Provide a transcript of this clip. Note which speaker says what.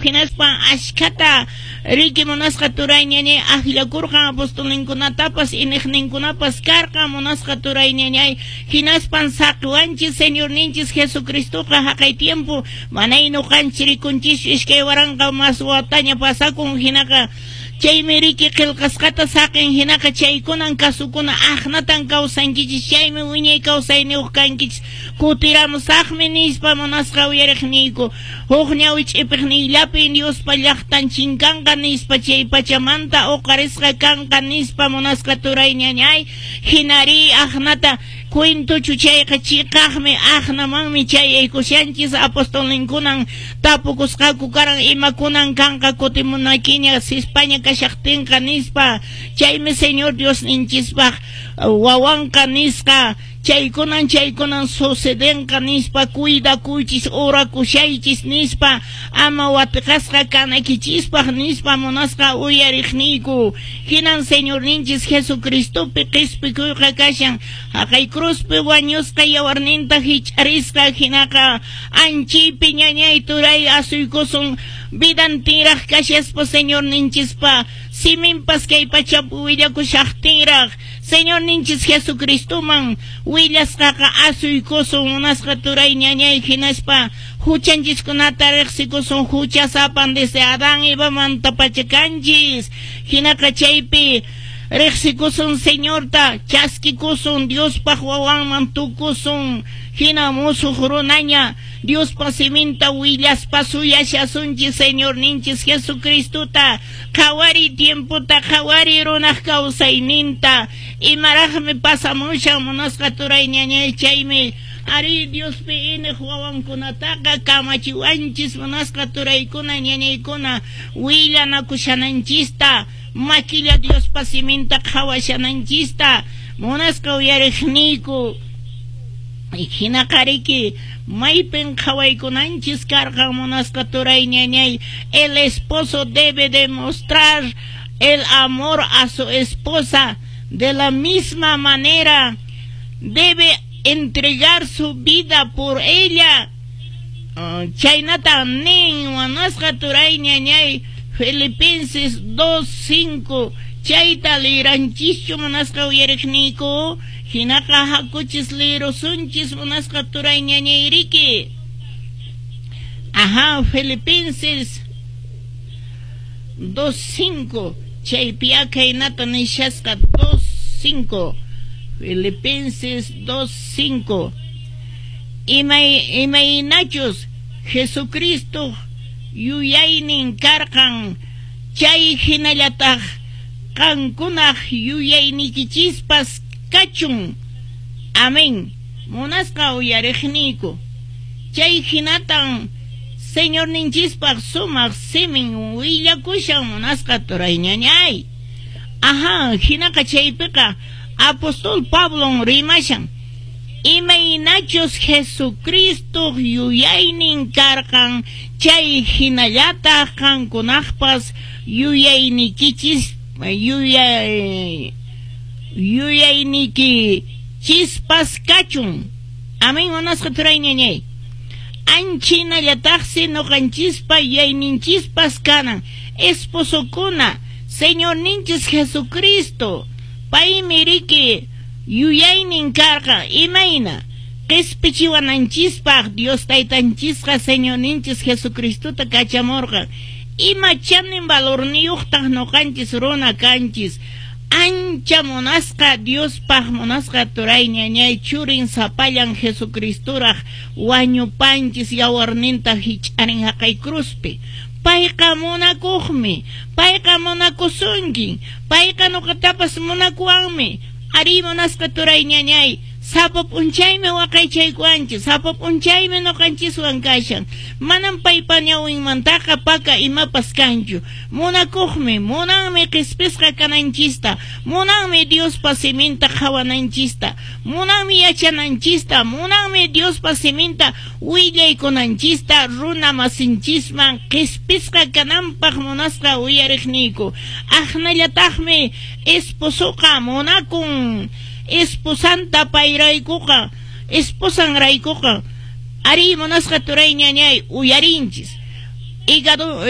Speaker 1: Hinaspa ashkhata riki munasqa turay ñañay akllakurqan apostolninkunatapas, iniqninkunapas karqan munasqa turay ñañay. Hinaspan saqiwanchis Señorninchis Jesucristoqa haqay tiempo manay nuqanchis rikunchis 2000 mas wataña pasakun hinaqa chaymi riki qillqasqata saqin hinaqa chaykunan kasukuna aqnatan kawsankichis chaymi wiñay kawsayniyuq kankichis kutiramusaqmi nispa munasqa uyariqniyku huk ñawi ch'ipiqniyllapi Diospa llaqtan chinkanqa nispa chay pachamanta uqarisqa kanqa nispa munasqa turay ñañay hinari aqnata cuentochu chayqa chiqaqmi aqnamanmi chayaykushanchis apostolninkunan tapukusqaku karan imakunan kanqa kutimunakiña sispaña kashaqtinqa nispa chaymi Señor Diosninchispaq wawanqa nisqa chaykunan chaykunan sucedenqa nispa cuidakuychis orakushaychis nispa ama watiqasqa kanakichispaq nispa munasqa uyariqniyku hinan Señorninchis Jesucristopi qispikuyqa kashan haqay cruzpi wañusqa yawarninta hich'arisqa hinaqa anchaypi ñañay turay asuykusun vidantinraq kashaspa Señorninchispa siminpas kay pachapi willakushaqtinraq Señorninchis Jesucristoman willasqaqa asuykusun munasqa turay ñañay hinaspa huchanchiskunata riqsikusun huchasapan desde Adán Evamanta pacha kanchis hinaqa chaypi riqsikusun Señorta chaskikusun Diospaq wawanman tukusun hina musuq runaña Diospa siminta willaspa suyashasunchis Señorninchis Jesucristota qhawari tiempota qhawari runaq kawsayninta imaraqmi pasamushan munasqa turay ñañay chaymi ari Diospi iniq wawankunataqa kamachiwanchis munasqa turaykuna ñañaykuna willanakushananchista makilla Diospa siminta qhawashananchista munasqa uyariqniyku hinaqa riki maypin qhawaykunanchis karqan munasqa turay ñañay el esposo debe demostrar el amor a su esposa de la misma manera debe entregar su vida por ella chaynata nin munasqa turay ñañay Filipenses 2:5 chayta liranchischu munasqa uyariqniyku hinaqa hakuchis lirusunchis munasqa turay ñañayriki aha Filipenses 2:5 chaypi akaynata nishasqa 2:5 Filipenses 2:5 imay imaynachus Jesucristo yuyaynin karqan chay hinallataq qankunaq yuyayniykichispas kachun amén munasqa uyariqniyku chay hinatan Señorninchispaq sumaq simin willakushan munasqa turay ñañay aha hinaqa chaypiqa apóstol Pablon rimashan imaynachus Jesucristo yuyaynin karqan chay hinallataq qankunaqpas yuyaynikichis yuyaynikichispas kachun amén munasqa turay ñañay anchinallataqsi nuqanchispa yuyayninchispas kanan esposokuna Señorninchis Jesucristo paymi riki yuyaynin karqan imayna qispichiwananchispaq Dios taytanchisqa Señorninchis Jesucristota kachamurqan ima chanin valorniyuqtaq nuqanchis runa kanchis ancha munasqa Diospaq munasqa turay ñañay churin sapallan Jesucristoraq wañupanchis yawarninta hich'arin haqay cruzpi payqa munakuqmi payqa munakusunkin payqa nuqatapas munakuwanmi ari munasqa turay ñañay sapa p'unchaymi waqaychaykuwanchis sapa p'unchaymi nuqanchiswan kashan manam paypa ñawinmantaqa paka imapas kanchu munakuqmi munanmi qhispisqa kananchista munanmi Diospa siminta qhawananchista munanmi yachananchista munanmi Diospa siminta willaykunanchista runa masinchisman qhispisqa kananpaq munasqa uyariqniyku aqnallataqmi esposoqa munakun esposanta payraykuqa esposanraykuqa ari munasqa turay ñañay uyarinchis hígado.